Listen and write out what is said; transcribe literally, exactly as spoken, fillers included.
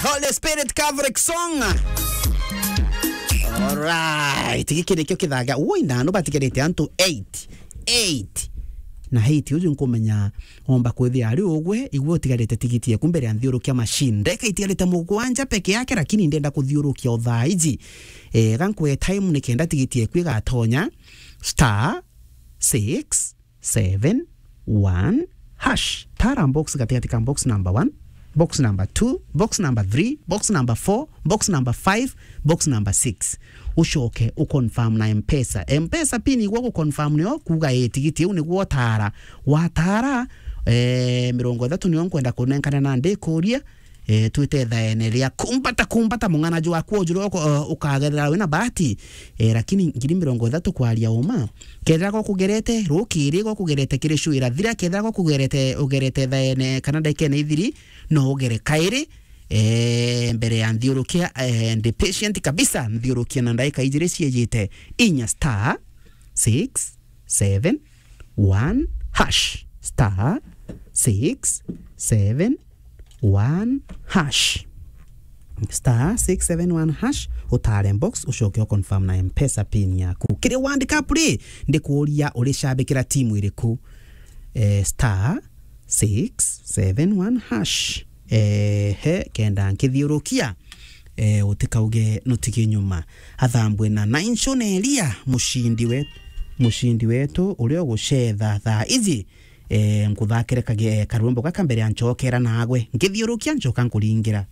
Holy Spirit Catholic song. Alright, giki nikio kithaga. Woi, na no batigarite antu eight. Eight. Na eight uju nkumenya omba kwithia ari ugwe, igwe utigarite tigiti yeku mbere ya nthiurukia machine. Ndeka itigarite mugwanja peke yake, lakini ndenda kuthiurukia o thaa iji. Eh, ga nkwe time nikenda tigiti yeku igatonya. Star six seven one hash. Tara box gatigati ka box number one, box number two, box number three, box number four, box number five, box number six. Ucoke uconfirm na Mpesa. Mpesa pin igwe guconfirm nio kuga ii tigiti iu niguo utara. Watara, eh, mirongo ithatu nio nkwenda kunenkana na ndikuria, eh, twite thaene ria kumbata, kumbata mung'ana jwaku ujuru uko-, eh, ukagerera wina bahati, eh, lakini ngiri mirongo ithatu kwaria uma. Kethira gwakugerete rukiri, gwakugerete kiri show irathira, kethira gwakugerete, ugerete thaene kana ndagikene ithiri, no ugere kairi, eh, mbere ya nthiurukia, eh, ndi patient kabisa, nthiurukia na ndagika ijiri ciejite. Inya star six seven one hash. Star six seven one hash. Star six seven one hash, utare box, ucoke uconfirm na Mpesa pin yaku. Kiri World Cup ri, ndikuuria uricabikira timu iriku? Eh, star six seven one hash. Eh, he, kenda nkithiurukia, eh, utikauge nutigi nyuma. Athambwe na Naincho na Elia, mucindi we-, mucindi wetu uria ugucetha thaa iji. Eh, nkuthakire kage-, karwimbo gaka mbere ya ncokera nagwe. Nkithiurukia, ncoka nkuringira.